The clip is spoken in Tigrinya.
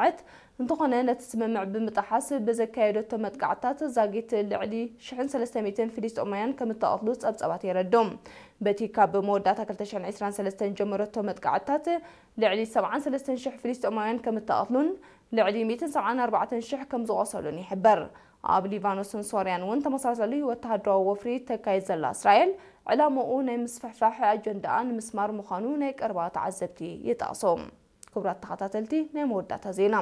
ዓት እንተኾነ፣ ነቲ ስምምዕ ብምጥሓስ ብዘካየደቶ መጥቃዕትታት ዛጊት ልዕሊ ሽሕን ሰለስተ ሚእትን ፍልስጤማውያን ከም እተቐትሉ ጸብጻባት የረድኡ። በቲ ካብ መወዳእታ ክልተ ሽሕን ዕስራን ሰለስተን ጀመረቶ መጥቃዕትታት ልዕሊ ሰብዓን ሰለስተን ሽሕ ፍልስጤማውያን ከም እተቐትሉን ልዕሊ ሚእትን ሰብዓን ኣርባዕተን ሽሕ ከም ዝቖሰሉን ይሕበር። ኣብ ሊባኖስን ሶርያን እውን ተመሳሳሊ ወተሃደራዊ ወፍሪ ተካይድ ዘላ እስራኤል፣ ዕላምኡ ናይ ምስፍሕፋሕ ኣጀንዳኣ ንምስማር ምዃኑ ናይ ቀረባ ተዓዘብቲ ይጠቕሱ። ክቡራት ተኸታተልቲ፣ ናይ መወዳእታ ዜና።